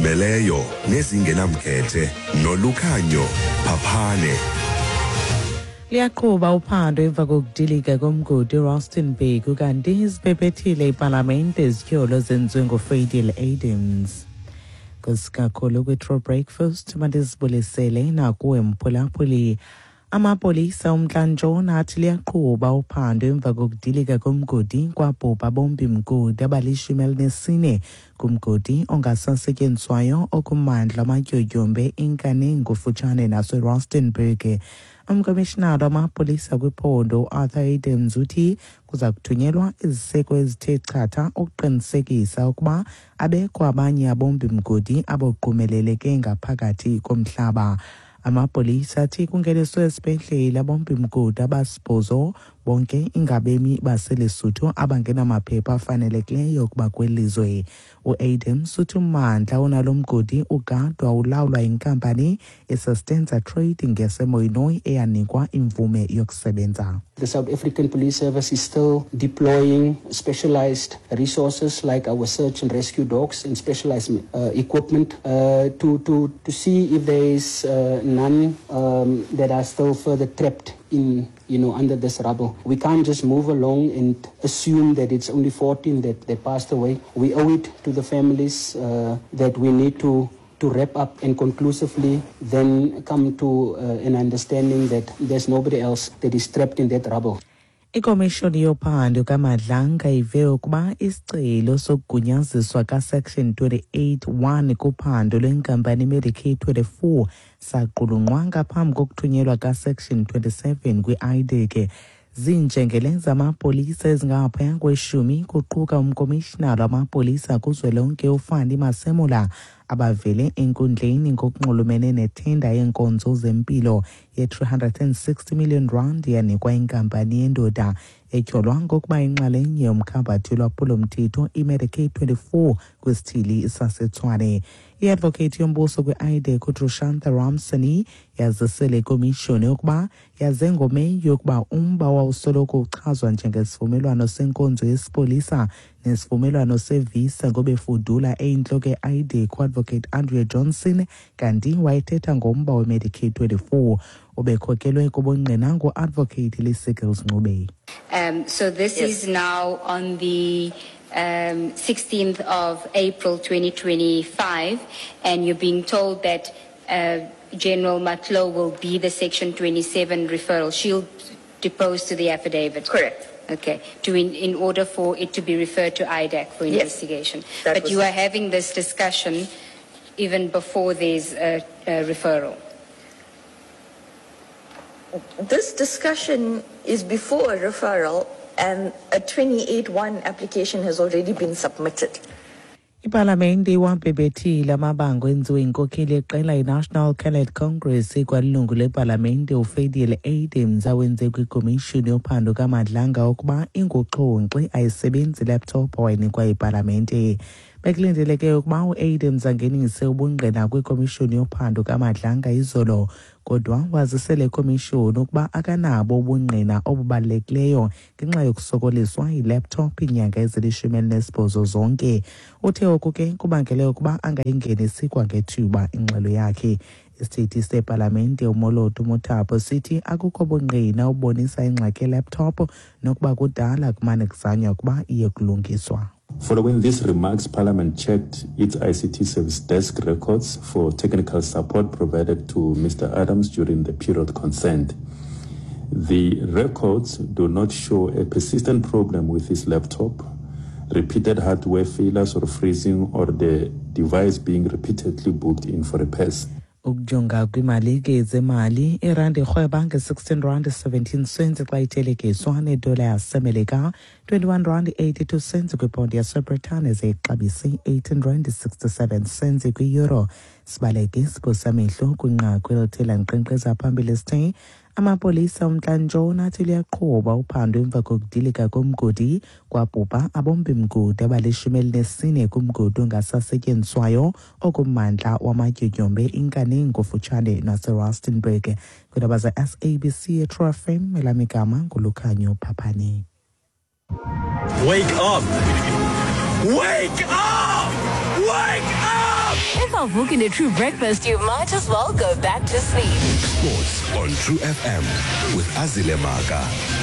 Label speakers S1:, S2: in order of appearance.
S1: Ezizimeleyo nezingenamkhethe noLukhanyo Phaphane.
S2: Liyaqhuba uphando emva kokudilika komgodi eRustenburg, kanti zibhebhethile ipalamente izityholo zenziwe nguFadiel Adams. Kusikakhulu kwi-True Breakfast, mandizibulisele nakuwe mphulaphuli. Amapolisa umntla-ntshona athi liyaqhuba uphando emva kokudilika komgodi kwabhubha bombi mgodi abali-14 kumgodi ongasasetyenziswayo okummandla amatyotyombe iNkaneng kufutshane naseRustenburg. Umkomishinala wamapolisa kwiphondo uArthur Adams uthi kuza kuthunyelwa iziseko ezithe chatha ukuqinisekisa ukuba abekho abanye abombi mgodi abogqumeleleke ngaphakathi komhlaba. Amapolisa athi kungeniswe esibhedlele abombi mgodi abasibhozo, bonke ingabemi baseLesotho abangenamaphepha afanelekileyo ukuba kwelizwe. UAdams uthi ummandla onalo mgodi ugadwa ulawulwa yinkampani iSustenza Trading yaseMoinoy eyanikwa imvume yokusebenza.
S3: The South African Police Service is still deploying specialized resources like our search and rescue dogs and specialized equipment to see if there is none that are still further trapped in, under this rubble. We can't just move along and assume that it's only 14 that passed away. We owe it to the families that we need to wrap up and conclusively then come to an understanding that there's nobody else that is trapped in that rubble.
S2: Ikomishoni yophando kaMadlanga ive ukuba isicelo sokugunyaziswa kaSection 28(1) kuphando lwenkampani Medicaid 24 saqulunqwa ngaphambi kokuthunyelwa kaSection 27 kwi-IDAC. Zinjengele zamapolisa ezingaphaya kweshumi, kuquka umkomishinala wamapolisa kuzwelonke uFannie Masemola, abavele enkundleni ngokunxulumene nethenda yeenkonzo zempilo ye-360 million rand yanikwa inkampani yendoda etyholwa ngokuba inxalenye yomkhambathi lwaphulo-mthetho iMedicaid 24 kwisithili saseTshwane. I-advocate yombuso kwi-IDAC uDrushantha Ramsamy yazisele ikomishoni ukuba yaze ngoMeyi yokuba umba wawusoloko uchazwa njengesivumelwano senkonzo yesipolisa nesivumelwano sevisa ngobefudula eyintloko ye-IDAC uadvocate Andrea Johnson, kanti wayethetha ngomba weMedicaid 24 obekhokelwe kubungqina ngu-advocate Lee-Seagles Ncube.
S4: So this is now on the 16th of April 2025, and you're being told that General Matlou will be the Section 27 referral. She'll depose to the affidavit.
S5: Correct.
S4: Okay, in order for it to be referred to IDAC for
S5: Yes.
S4: investigation.
S5: That
S4: But
S5: was
S4: you are having this discussion even before there's a referral.
S5: This discussion is before a referral, and a 28(1) application has already been submitted.
S2: Ipalamente iwabhebhethile amabango enziwe yinkokheli yeqela iNational Coloured Congress ikwalilungu lepalamente uFadiel Adams awenze kwikomishoni yophando kaMadlanga ukuba inguxhonxi ayisebenzi laptop awayinikwa yipalamente. Bekulindeleke ukuba uAdams angenise ubungqina kwikomishoni yophando kaMadlanga izolo, kodwa wazisele ikomishoni ukuba akanabo ubungqina obubalulekileyo ngenxa yokusokoliswa yilaptop iinyanga ezili-18 zonke. Uthe oku ke kubangele ukuba angayingenisi kwangethuba ingxelo yakhe. Isithethi sepalamente uMoloto Mothapo sithi akukho bungqina obubonisa ingxaki yelaptop nokuba kudala kumane kuzanywa ukuba iye kulungiswa.
S6: Following these remarks, Parliament checked its ICT service desk records for technical support provided to Mr. Adams during the period concerned. The records do not show a persistent problem with his laptop, repeated hardware failures or freezing, or the device being repeatedly booked in for repairs.
S2: Ukujonga kwimalike zemali, irandi irhweba nge-16 rand 17 cents xa ithelekiswa nedola yaseMelika, 21 rand 82 cents kwiponti yaseBritane, ze ixabise 18 rand 67 cents kwi-euro. Sibaleke siphosamehlo kwinqaku elithe lankqenkqeza phambili sithe amapolisa umntla-ntshona athi liyaqhuba uphando emva kokudilika komgodi kwabhubha abombi mgodi abali-14 kumgodi ongasasetyenziswayo okummandla wamatyotyombe iNkaneng kufutshane naseRustenburg. Kwiindaba ze-SABC eTrue FM, elam igama nguLukhanyo Phaphane.
S7: Wake up! Wake up! Wake up! If Avuki in a true breakfast, you might as well go back to sleep.
S1: Sports on True FM with Azile Maka.